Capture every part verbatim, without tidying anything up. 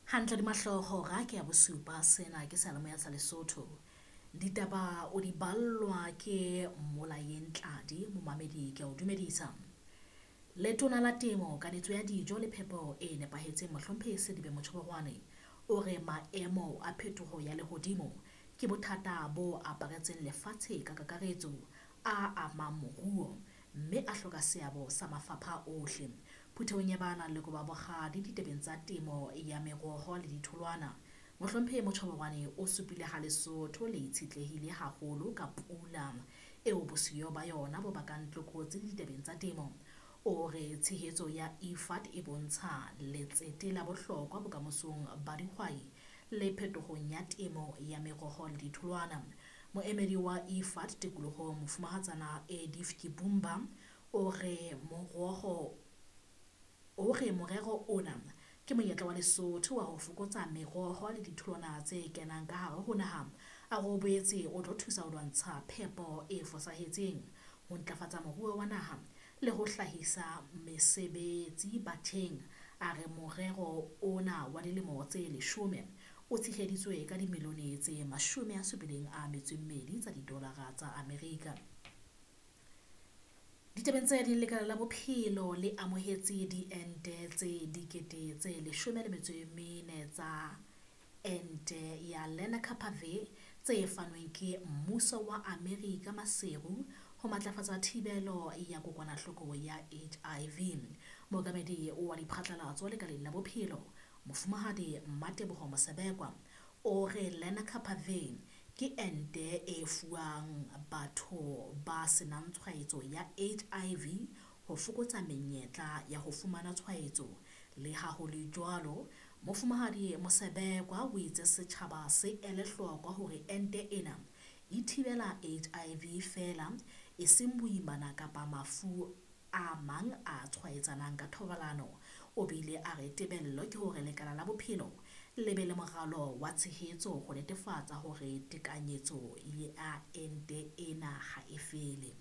Hantle di mahloho hora ke ya bosupa, sena ke seyalemoya sa Lesotho. Ditaba o di ballwa ke Mmolayeng Tladi, momamedi ke a o dumedisa. Letona la Temo, Kanetso ya Dijo le Phepo e Nepahetseng Mohlomphehi Selibe Mochoboroane o re maemo a phetoho ya lehodimo ke bothata bo aparetseng lefatshe ka kakaretso a amang moruo mme a hloka seabo sa mafapha ohle. Phuthehong ya ba nang le kobo bokgadi ditabeng tsa temo ya meroho le ditholwana, Mohlomphehi Mochoboroane o supile ha Lesotho le itshetlehile haholo ka pula eo bosiyo ba yona bo bakang tlokotsi ditabeng tsa temo. O re tshehetso ya I F A D e bontsha letsete la bohlokwa bokamosong ba dihwai le phetohong ya temo ya meroho le ditholwana. Moemedi wa I F A D tikolohong Mofumahatsana Edith Kibumba o re moroho o re morero ona ke monyetla wa Lesotho wa ho fokotsa meroho le ditholwana tse kenang ka hare ho naha. A re o boetse o tlo thusa ho lwantsha phepo e fosahetseng, ho ntlafatsa moruo wa naha le ho hlahisa mesebetsi batjheng. A re morero ona wa dilemo tse leshome o tsheheditswe ka dimilione tse mashome a supileng a metso e mmedi tsa didolara tsa Amerika. Ditabeng tse ding, lekala la bophelo le amohetse diente tse dikete tse leshome le metso e mene tsa ente ya Lenacapavir tse fanweng ke mmuso wa Amerika Maseru ho matlafatsa thibelo ya kokwanahloko ya H I V. Mookamedi wa diphatlalatso lekaleng la bophelo Mofumahadi Mmateboho Mosebekwa o re Lenacapavir ke ente e fuwang batho ba senang tshwaetso ya H I V ho fokotsa menyetla ya ho fumana tshwaetso. Le ha ho le jwalo, Mofumahadi Mosebekwa o itse setjhaba se ele hloko hore ente ena e thibela H I V feela, e seng boimana kapa mafu a mang a tshwaetsanang ka thobalano. O bile a re tebello ke hore lekala la bophelo le be le moralo wa tshehetso ho netefatsa hore tekanyetso ya ente ena ha e fele.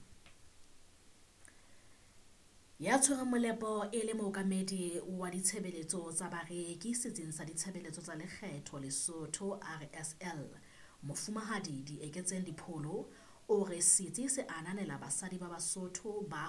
Ya tshwereng molepo e le mookamedi wa ditshebeletso tsa bareki setsing sa ditshebeletso tsa lekgetho Lesotho R S L, Mofumahadi Dieketseng Dipholo o re setsi se ananela basadi ba Basotho ba